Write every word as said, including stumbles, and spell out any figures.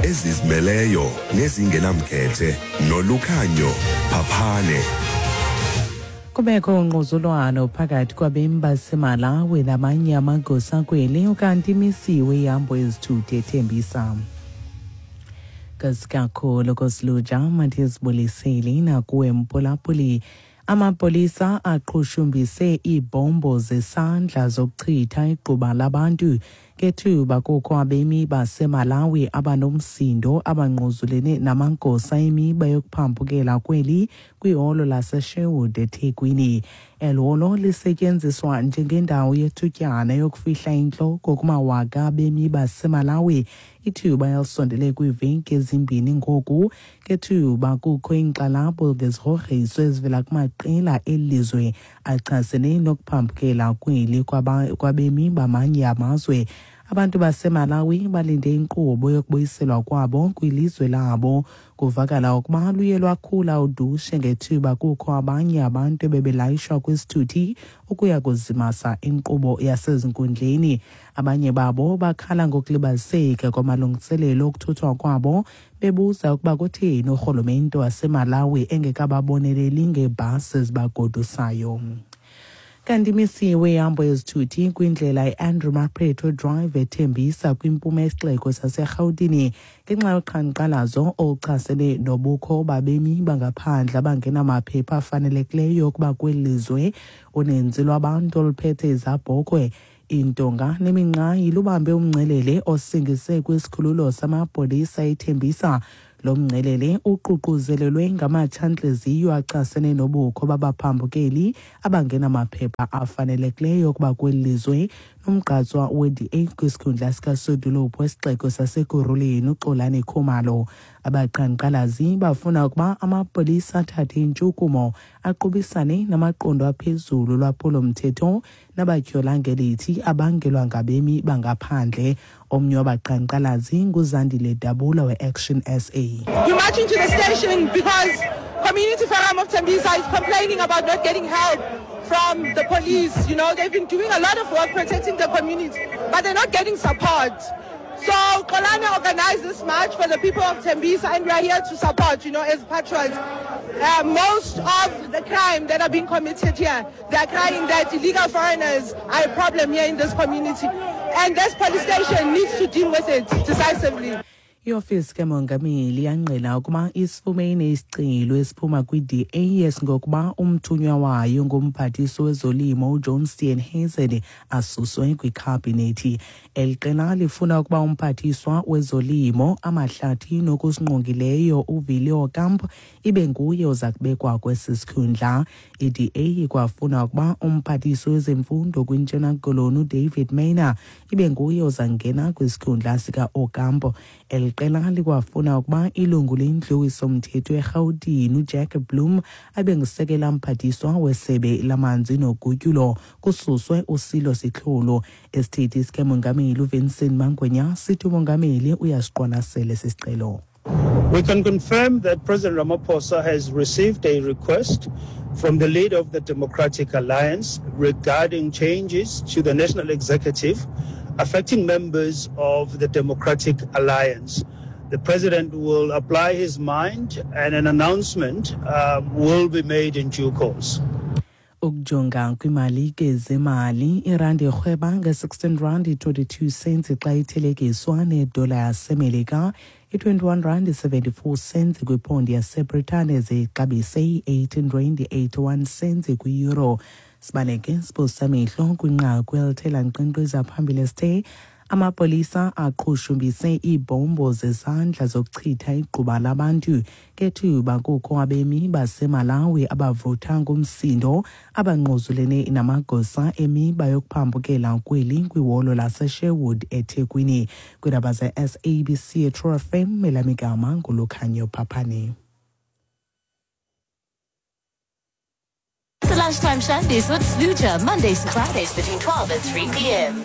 Ezizimeleyo nezingenamkhethe noLukhanyo Phaphane. Kubekho ungquzulwano phakathi kwabemi baseMalawi namanye amagosa kweli, ukanti imisiwe ihambo yezithuthi eThembisa. Kasikakhulu kosiluja mathizibuliseli nakuwe mphulaphuli. Amapolisa aqhushumbise iibhombo zesandla zokuchitha igquba labantu ngethuba kukho abemi baseMalawi abanomsindo abangquzulene namagosa emiba yokuphambukela kweli kwiholo laseSherwood eThekwini. Eli holo lisetyenziswa njengendawo yethutyana yokufihla intloko kumawaka abemi baseMalawi, ithuba elisondele kwiiveki ezimbini ngoku, ngethuba kukho iinkxalabo ngezigrogriso ezivela kumaqela eli lizwe achasene nokuphambukela kweli kwabemi bamanye amazwe. Abantu baseMalawi balinde inkqubo yokubuyiselwa kwabo kwilizwe labo. Kuvakala ukuba luye lwakhula udushe ngethuba kukho abanye abantu ebebelayishwa kwisithuthi ukuya kuzimasa inkqubo yasezinkundleni. Abanye babo bakhala ngokulibaziseka kwamalungiselelo okuthuthwa kwabo, bebuza ukuba kutheni urhulumente waseMalawi engekababoneleli ngeebhasi ezibagodusayo. Kanti imisiwe ihambo yezithuthi kwindlela iAndrew Mapheto Drive eThembisa kwimpuma yesixeko saseRhawutini ngenxa yoqhankqalazo oluchasene nobukho babemi bangaphandle abangenamaphepha afanelekileyo ukuba kweli lizwe. Uninzi lwabantu oluphethe izabhokhwe, iintonga neminqayi lubambe umngcelele osingise kwisikhululo samapolisa eThembisa. Lo mngcelele uququzelelwe ngamatshantliziyo achasene nobukho babaphambukeli abangenamaphepha afanelekileyo ukuba kweli lizwe. Nomgqatswa we-D A kwisikhundla sikasodolophu wesixeko saseKurhuleni uXolani Khumalo. Abaqhankqalazi bafuna ukuba amapolisa athathe intshukumo aqubisane namaqondo aphezulu lwaphulo-mthetho nabatyhola ngelithi abangelwa ngabemi bangaphandle. Omnye wabaqhankqalazi nguZandile Dabula we-Action S A. We're marching to the station because Community Forum of Tembisa is complaining about not getting help from the police. You know, they've been doing a lot of work protecting the community, but they're not getting support. So Xolani organized this march for the people of Tembisa, and we are here to support, you know, as patriots. Uh, most of the crime that are being committed here, they are crying that illegal foreigners are a problem here in this community. And this police station needs to deal with it decisively. Iofisi kamongameli yangqina ukuba isifumene isicelo esiphuma kwi-D A esingokuba umthunywa wayo ngumphathiswa wezolimo uJohn Steenhuisen asuswe kwikhabhinethi. Eli qela lifuna ukuba umphathiswa wezolimo, amahlathi nokusingqongileyo uVilio Kamp ibe nguye oza kubekwa kwesi sikhundla. I-D A ikwafuna ukuba umphathiswa wezemfundo kwiNtshona Koloni uDavid Maynard ibe nguye ozangena kwisikhundla sika-Ocampo. Eli qela likwafuna ukuba ilungu lendlu yomthetho eRhawutini uJack Bloom abe ngusekela mphathiswa wesebe lamanzi nogutyulo, kususwe uSilo Sitlholo. Isithethi sikamongameli uVincent Mangwenya sithi umongameli uyasiqwalasela esi sicelo. We can confirm that President Ramaphosa has received a request from the leader of the Democratic Alliance regarding changes to the national executive affecting members of the Democratic Alliance. The president will apply his mind and an announcement uh, will be made in due course. Ukujonga kwimali ke zemali, irandi irhweba nge-sixteen rand twenty-two cents xa ithelekiswa nedola yaseMelika, i-twenty-one rand seventy-four cents kwipondi yaseBritane, zixabise i-eighteen rand eighty-one cents kwi-euro. Sibaleke siphosisa kwinqaku elithe lankqenkqeza phambili esithe amapolisa aqhushumbise iibhombo zezandla zokuchitha igquba labantu ngethuba kukho abemi baseMalawi abavutha ngumsindo abangquzulene namagosa emiba yokuphambukela kweli kwiholo laseSherwood eThekwini. Kwiindaba ze-S A B C True F M, elamigama nguLukhanyo Phaphane. The Lunchtime Shandies with Sluja, Mondays to Fridays between twelve and three p m